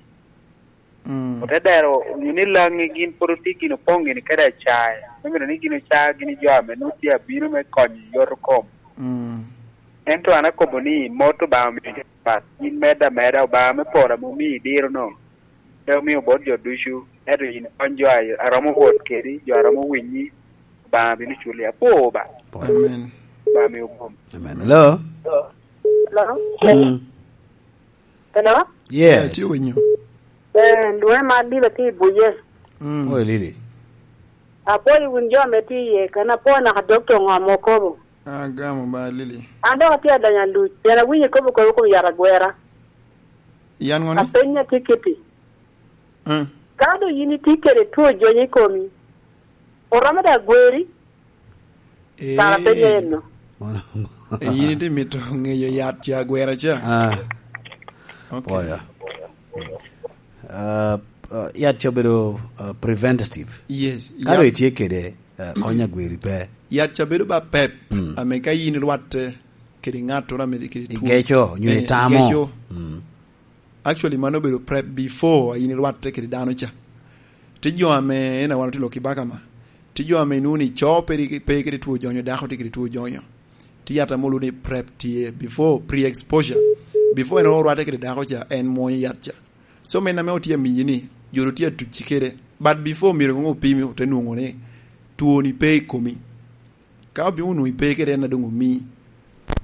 Mm. Ote dero onyo ni Laŋi gin pwod otye gin opoŋ gini kede acae, me mito ni gin oca gini jo ame nwoŋo tye abino me konyo i yot kom. Mm. Ento an akobo ni mot Obaŋa omiyo jo pat, yin medde ameda, Obaŋa me polo ame omii diro-nu, pe omio bot jo ducu, ento yin kony jo a, a romo wot kedi, jo a romo winyi, Obaŋa bino culi. Apwoo ba. Amen. Obaŋa miyo bwom. Amen. Hello? Hello? Mm. Hello? Yes. Yeah, tye winyo. Eh, lwonge mar Lila tye i Buye. Mm. Oi, Lili. Apwoyo wun jo ame tye iye, kan apwoyo naka dokta ŋo ame okobo. Agamo ba, Lili. An dok atye adonyo aluc, pien awinyo ikobo kop i kom yat agwera. Yan ŋo ni? Apenyi atikiti. Mm. Ka doŋ yin itye kede two jonyo i komi, oromo daŋ gweri? Eh. Kara penyo eno. Eh, yin itye mito ŋeyo yat ca agwera ca? Ah. Okay. Pwoyo. Ah, ah, yat ca obedo, ah, preventative. Yes, ka yat doŋ itye kede, ah, kony agweri pe. Yat ca bedo ba pep, mm, ame ka yin irwatte kede ŋattoro ame tye kede two. Igeco, nyo, eh, itamo. Igeco. Mm. Actually, mano obedo prep before a yin irwatte kede dano ca. Tye jo ame, en a wan otye lok i baka ma, tye jo ame inwoŋo ni co pe ri-, pe kede two jonyo, dako tye kede two jonyo. Tye yat ame olwoŋo ni prep tye, before, pre-exposure. Before en orwatte kede dako ca, en mwonyo yat ca. So, men ame otye amiyi ni, jo ru tye atucci kede. But before, myero koŋ opimi, ote nwoŋo ni two-ni pe i komi. Ka obino onwoŋo ipe kede en a doŋ omii,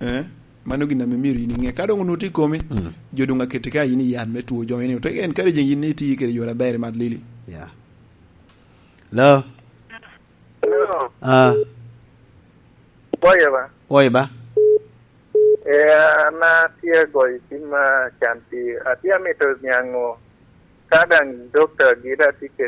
eh, mano gin ame myero yin iŋe. Ka doŋ onwoŋo tye i komi, mm, jo doŋ aketi ka yin i yat me two jonyo ni. Ote en kare jeŋ yin itye kede yore aber i mat Lili. Yeah. Hello? Hello? Ah. Pwoyo ba? Pwoyo ba? Eh, an atye agoyo cim, ah, can pi, atye amito niaŋ ka daŋ dokta gire atye